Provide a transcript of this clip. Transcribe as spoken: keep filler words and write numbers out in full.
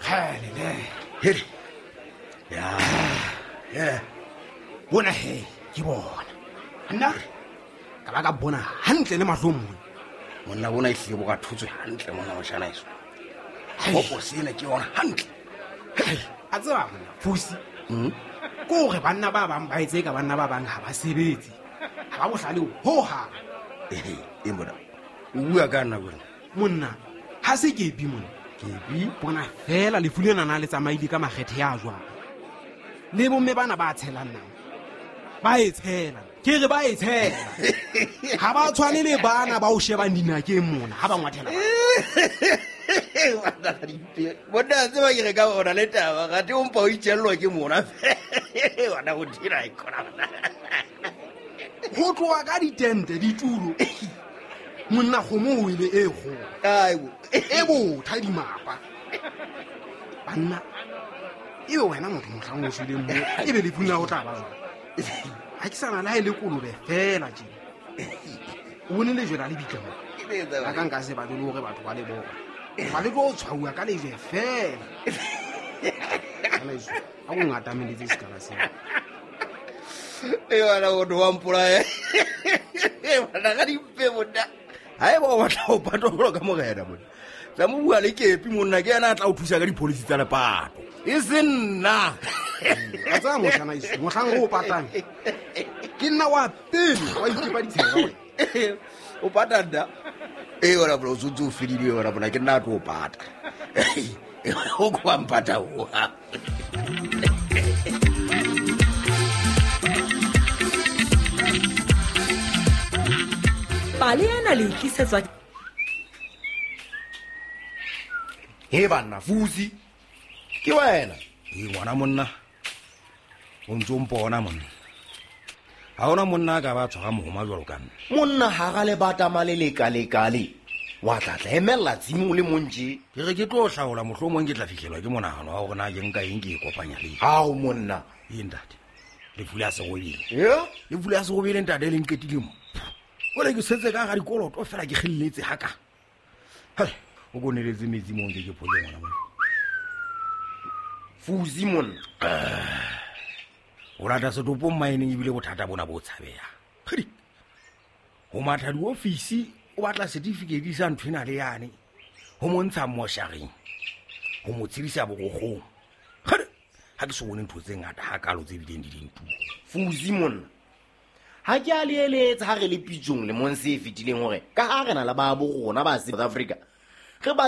Kgele. Hele. Ya. Yeah. Bona he, ke bona. Nna ka ba ka bona hantle le mahlong mona. Monna bona e hlile bo ka thotswe hantle monna moshana eso. Popo sena ke yona hantle. A tseba monna Fusi. Mm. Ko re banna ba bang ba etse ka banna ba bang ha ba sebetse. Ha ba bohlale ho ha. Eh, e mona. O bua ka nna bona. Monna, ha se ke bi monna. Ke bi bona fela lefu lena na le tsamaile ka makgethe ya jwang. Le bomme bana ba tshelang nang. Ba e tshela. Ke re ba e tshela. Ha ba tshwane le bana ba o shebang dinakeng mona ha ba ngwathela. Bona tseba ke re ka ona le taba ga te o mpa o itjellwa ke mona. Wena o dira e khona. Ho tloha ka ditente ditulo. Monna kgomo o ile e kgolo. Aibo. E botha dimapa. Banna ebe wena motho mohlang o shweleng mo ebe lefung la ho tla ba jwang? Ha ke sana le ha e le kolobe fela tje. O bone lejwe la lebitla mo. A ka nka se batle le hore batho ba le bona. Ba le tlo tshwauwa ka lejwe fela. Kana iso, ha o ngatameletse sekala sena. E wena o do wa mpolaya. E wena ga dimpe monna. Ha eba o batla ho patwa jwalo ka morena monna. Tla mo bua le kepi monna ke yena a tla o thusa ka dipolisi tsa lepato. E se nna. A tsaya moshana iso, mohlang o patang. Ke nna wa pele wa itepa ditshela wena. O pata nna. E wena bro o ntse o fedile wena bona ke nna a tlo o pata. O kwa mpata o. Pale ena le tlisetswa. He banna Fusi. Ke wena. E ngwana monna. O ntse o mpona monna. Ha hona monna a ka ba tshwara mohoma jwalo ka nna. Monna ha ga le bata male le kale kale. Wa tla tla emella tsimo le montje. Ke re ke tlo hlaola mohlomong ke tla fihlelwa ke monahano wa hore na ke nka eng ke e kopanya le. Hao monna. E ntate. Lefu la serobele. Yeah? Lefu la serobele ntate le nqetile mo. Wele ke setse ka ga dikoloto fela ke kgelletse haka. Hai, o koneletse metsi mo nke ke phole ngwana monna. Fusi monna. O rata setopo mmaeneng ebile bothata bona bo tshabeha. Kgedi. Ho matha diofisi o batla certificate sa nthwena le yane. Ho montsha moshareng. Ho mo tshedisa borokgong. Kgedi. Ha ke so bone ntho tse ngata ha kalo tse bileng di dintu. Fusi monna. Ha ke a le eletsa ha re le pitsong le mong se fetileng hore ka ha re na le ba bo rona ba South Africa. Re batla